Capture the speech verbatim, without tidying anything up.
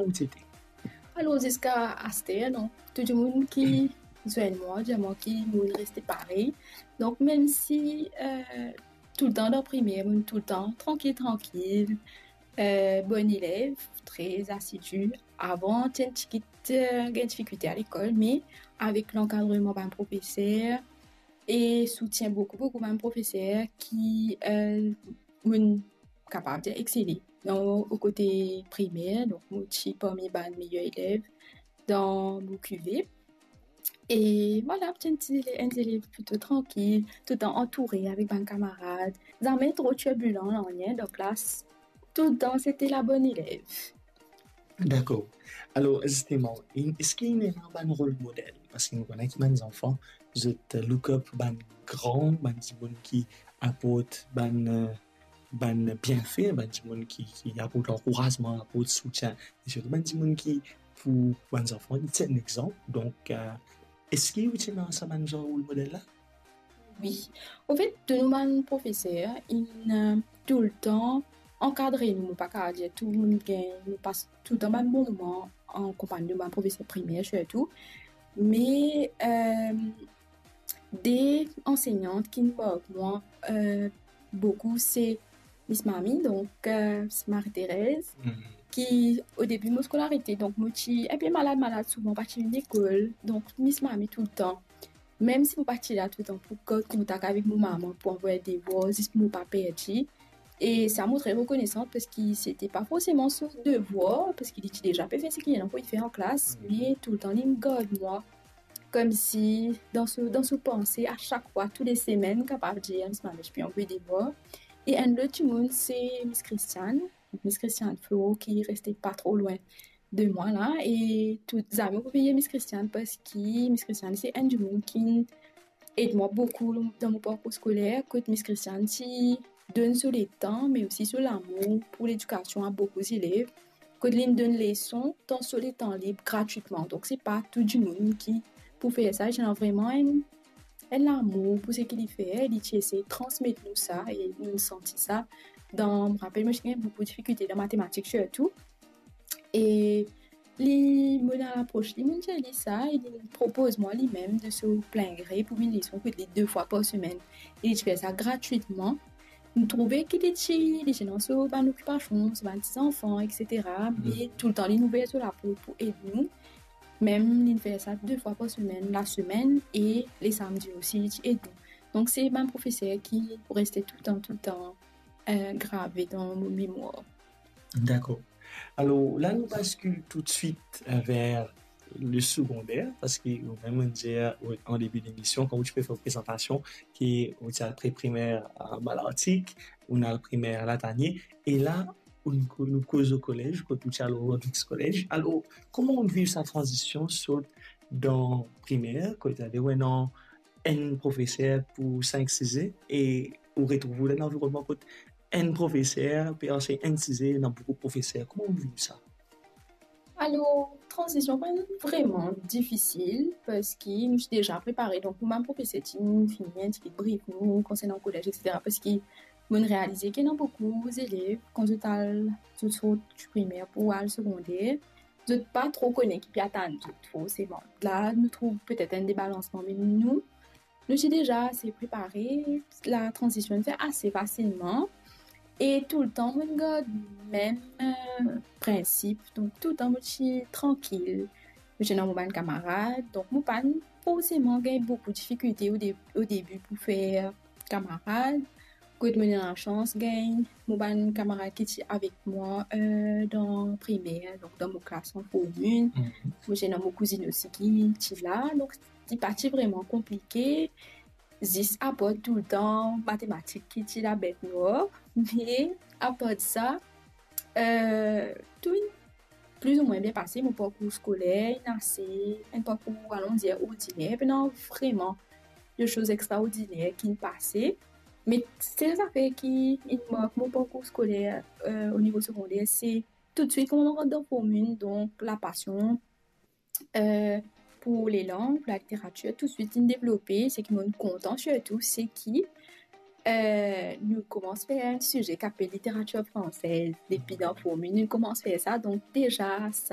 ou ti ete? Alor, ziska aster, donk, tou dimoun ki zwenn mwa, dir mwa ki mo reste parey. Donk, mem si, euh, toultan dan primer, mo toultan trankil, trankil, euh, bonn elev, tre asidi. Avan, ti enn tigit, euh, gagn difikilte alekol, me avek lankadreman bann profeser e soutien boukou, boukou bann profeser ki, euh, mo kapav dir, exele dan, o kote primer. Donk, mo ti parmi bann meyer elev dan mo kive. E vwala, ti enn ti, enn elev plito trankil, toultan antoure avek bann kamarad. Zame tro tirbilan, nanye. Donk la, s-, toultan, sete la bonn elev. Dakor. Alor, zisteman, in-, eski inn ena bann rol model? Parski nou kone ki bann zanfan, zot look up bann gran, bann dimoun ki aport bann, euh, bann bienfe, bann dimoun ki, ki aport lankourazman, aport soutien. E sirtou bann dimoun ki, pou bann zanfan, li ti enn exanp. Donk, euh, eski ou ti ena sa bann zanr rol model la? Wi. Anfet, tou nou bann profeser, inn, euh, toultan ankadre nou. Mo pa kapav dir tou nou gagn, nou pas toultan bann bon moman an konpagni de bann profeser primer sirtou. Me, euh, de ansegnant ki mark mwa, euh, boukou, se Miss Mami, donk, euh, Miss Marie-Thérèse, ki, o debi mo skolarite, donk, mo ti enpe malad, malad souvan, pa ti vinn lekol. Donk, Miss Mami toultan, mem si mo pa ti la toultan, pou gard kontak avek mo mama, pou anvoy devwar, zis pou mo pa perdi. E sa, mo tre rekonesan, parski sete pa forseman so devwar, parski li ti deza pe fer seki li ena pou li fer an klas, me toultan li gard mwa koumsi dan so, dan so panse, a sak fwa, tou le semenn, kapav dir, Miss Mami, mo pe anvoy devwar. E enn lot dimoun, se Miss Christiane. Miss Christiane Flo, ki reste pa tro lwin de mwa la. E tou, zame mo bliye Miss Christiane, parski Miss Christiane, se enn dimoun ki ed mwa boukou dan mo parkour skoler. Kot Miss Christiane ti donn so letan, me osi so lamour pou ledikasion a boukou zelev. Kot li donn leson dan so letan lib gratwitman. Donk, se pa tou dimoun ki pou fer sa. Ti ena vreman enn, enn lamour pou seki li fer, li ti esey transmet nou sa, e nou santi sa. Dan, mo rapel, mo ti gagn boukou difikilte dan matematik sirtou. E li, mo al apros li, mo dir li sa, e li propoz mwa limem de so plin gre pou vinn leson kot li de fwa par semenn. E li ti fer sa gratwitman. Mo trouve ki li ti, li ti ena so bann okipasion, so bann ti zanfan, et cetera. Me toultan li ouver so laport pou ed nou. Mem li fer sa de fwa par semenn, lasemenn, e le samdi osi, li ti ed nou. Donk, se bann profeser ki pou reste toultan, toultan, euh, grave dan mo memwar. Dakor. Alor, la nou baskil toutswit, euh, ver le segonder, parski ou mem dir, euh, an debi lemision, kan ou ti pe fer prezantasion, ki ou ti al pre-primer a Malartik, ou al primer Latanie, e la, ou, nou koz kolez, kot ou ti al Rodrigues College. Alor, kouma ou viv sa tranzision sot dan primer, kot ou ena enn profeser pou sink size, e ou retrouv ou dan enn lanvironnman kot enn profeser pe ansegn enn size, ena boukou profeser. Kouma ou viv sa? Alor, tranzision pa ti vreman difisil, parski nou ti deza prepare. Donk, nou bann profeser ti finn fini enn tigit brif nou konsernan kolez, et cetera. Parski mo realize ki ena boukou zelev, kan zot al, zot sort primer pou al segonder, zot pa tro kone ki pe atann zot, forseman. La, nou trouv petet enn debalansman, me nou, nou ti deza ase prepare, la tranzision fer ase fasilman. E toultan, mo gard mem, euh, prinsip. Donk, toultan, mo ti trankil. Mo ti ena mo bann kamarad. Donk, mo pa forseman gagn boukou difikilte o de-, o debi pou fer kamarad. Kot mo ena lasans gagn mo bann kamarad ki ti avek mwa, euh, dan primer, donk dan mo klas an formin. Mo ti ena mo kouzinn osi ki ti la, donk li pa ti vreman konplike, zis apar toultan matematik ki ti la bet nwar. Me apar sa, euh, tou plizoumwin bien pase. Mo parkour skoler inn ase enn parkour, alon dir, ordiner, pena vreman de soz extraordiner ki inn pase. Me sel zafer ki inn mark mo parkour skoler, euh, o nivo segonder, se toutswit kouma mo rant dan formin, donk lapasion, euh, pou lelang, pou laliteratir, toutswit inn devlope. Seki mo kontan sirtou, seki, euh, nou koumans fer enn size ki apel literatir fransez. Depi dan formin, nou koumans fer sa. Donk, deza, sa